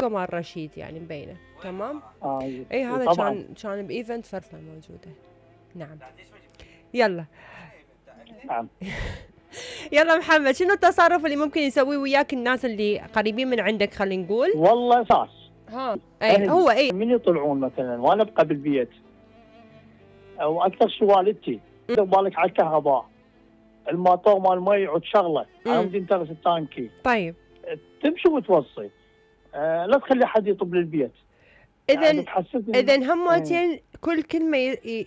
صورة مال رشيد يعني مبينة. تمام. اي هذا كان بايفنت فرفة موجودة. نعم. يلا. نعم. يلا محمد، شنو التصرف اللي ممكن يسويه وياك الناس اللي قريبين من عندك خلينا نقول؟ والله اساس. اي هو اي من يطلعون مثلا وانا ابقى بالبيت او اكثر شيء والدتي بالك على الكهرباء الماطور مال المي يعود شغله انا بدي انترس التانكي. طيب تمشي وتوصي لا تخلي حد يطب للبيت. اذا همتين كل كلمه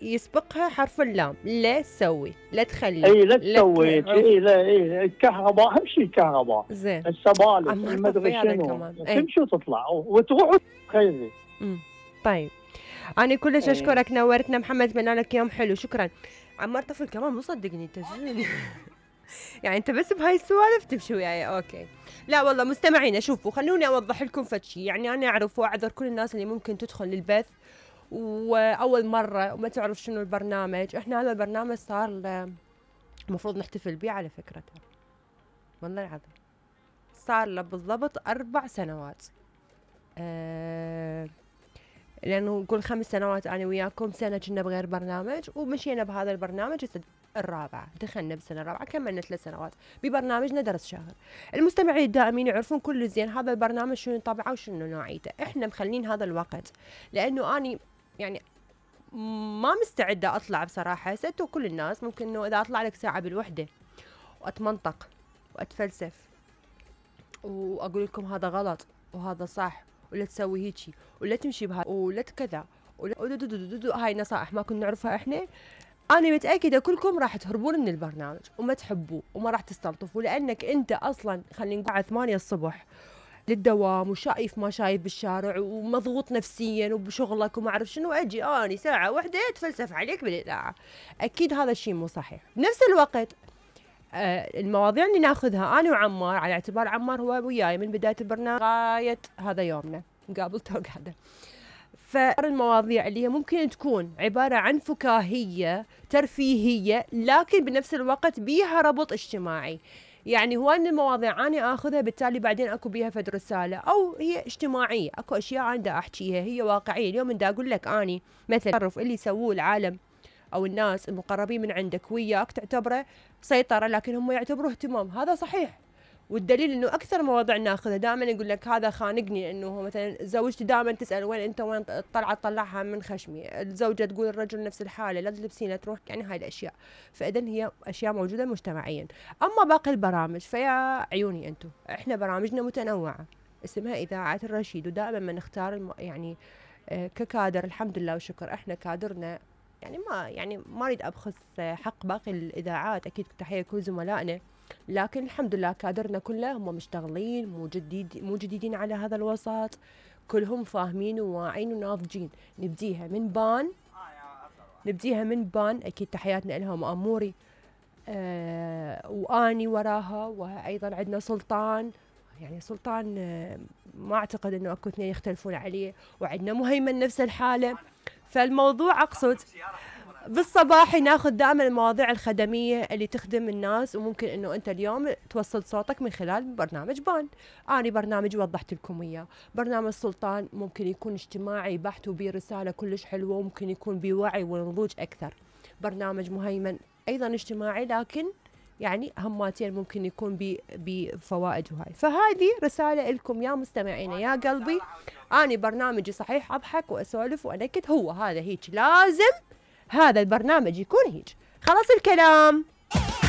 يسبقها حرف اللام. لا تسوي، لا تخلي، اي لا تسوي، لا الكهرباء اهم شيء الكهرباء، زين السبالك المدري شنو تمشي وتطلع وتروح خيري. طيب انا كلش اشكرك، نورتنا محمد، اتمنى لك يوم حلو. شكرا. عمار طفل كمان مو صدقني انت يعني انت بس بهاي السوالف تمشي وياي. اوكي لا والله مستمعينا شوفوا خلوني اوضح لكم فشي. يعني انا اعرف واعذر كل الناس اللي ممكن تدخل للبث واول مره وما تعرف شنو البرنامج. احنا هذا البرنامج صار المفروض نحتفل به على فكرة، والله العظيم صار له بالضبط 4 سنوات. لانه نقول 5 سنوات انا وياكم، سنه كنا بغير برنامج ومشينا بهذا البرنامج الرابعه، دخلنا بالسنه الرابعه كملنا 3 سنوات ببرنامجنا درس شهر. المستمعين الدائمين يعرفون كل زين هذا البرنامج شنو طبعه وشنو نوعيته. احنا مخلين هذا الوقت لانه اني يعني ما مستعده اطلع بصراحه. ستو كل الناس ممكن انه اذا اطلع لك ساعه بالوحده واتمنطق واتفلسف واقول لكم هذا غلط وهذا صح ولا تسوي هيجي ولا تمشي بها ولا كذا هاي نصائح ما كنا نعرفها احنا. انا متاكده كلكم راح تهربون من البرنامج وما تحبوه وما راح تستلطفوا، لانك انت اصلا خلينا نقول على 8 الصبح للدوام وشايف ما شايف بالشارع ومضغوط نفسيا وبشغلك وما اعرف شنو، اجي اني ساعه واحده اتفلسف عليك بالاذاعه. اكيد هذا الشيء مو صحيح. بنفس الوقت المواضيع اللي ناخذها انا وعمار، على اعتبار عمار هو وياي من بدايه البرنامج غايه هذا يومنا نقابل توقعده، فالمواضيع اللي هي ممكن تكون عباره عن فكاهيه ترفيهيه لكن بنفس الوقت بيها ربط اجتماعي. يعني هو ان المواضيع انا اخذها بالتالي بعدين اكو بيها فد رساله او هي اجتماعيه، اكو اشياء انا دا احكيها هي واقعيه. اليوم دا اقول لك اني مثلا التصرف اللي يسووه العالم او الناس المقربين من عندك وياك تعتبره سيطره لكن هم يعتبروه اهتمام، هذا صحيح. والدليل انه اكثر مواضيع ناخذها دائما يقول لك هذا خانقني، انه مثلا زوجتي دائما تسال وين انت وين طلعها من خشمي، الزوجه تقول الرجل نفس الحاله لا تلبسين تروح، يعني هاي الاشياء. فاذا هي اشياء موجوده مجتمعيا. اما باقي البرامج فيا عيوني انتم، احنا برامجنا متنوعه اسمها اذاعه الرشيد، ودائما ما نختار يعني ككادر الحمد لله وشكر احنا كادرنا يعني ما اريد ابخس حق باقي الاذاعات، اكيد تحيه كل زملائنا، لكن الحمد لله كادرنا كله هم مشتغلين مو جديدين على هذا الوسط، كلهم فاهمين وواعين وناضجين. نبديها من بان اكيد تحياتنا لهم اموري واني وراها، وايضا عندنا سلطان، يعني سلطان ما اعتقد انه اكو اثنين يختلفون عليه، وعندنا مهيمن نفس الحاله. فالموضوع اقصد بالصباح ناخذ دائما المواضيع الخدميه اللي تخدم الناس، وممكن انه انت اليوم توصل صوتك من خلال برنامج بان. انا برنامج وضحت لكم اياه، برنامج سلطان ممكن يكون اجتماعي بحت وبيه رساله كلش حلوه، وممكن يكون بوعي ونضوج اكثر. برنامج مهيمن ايضا اجتماعي لكن يعني هماتين ممكن يكون بفوائد وهاي. فهذه رساله لكم يا مستمعينا يا قلبي، اني برنامجي صحيح اضحك واسولف وانكت، هو هذا هيك لازم هذا البرنامج يكون هيك. خلاص الكلام.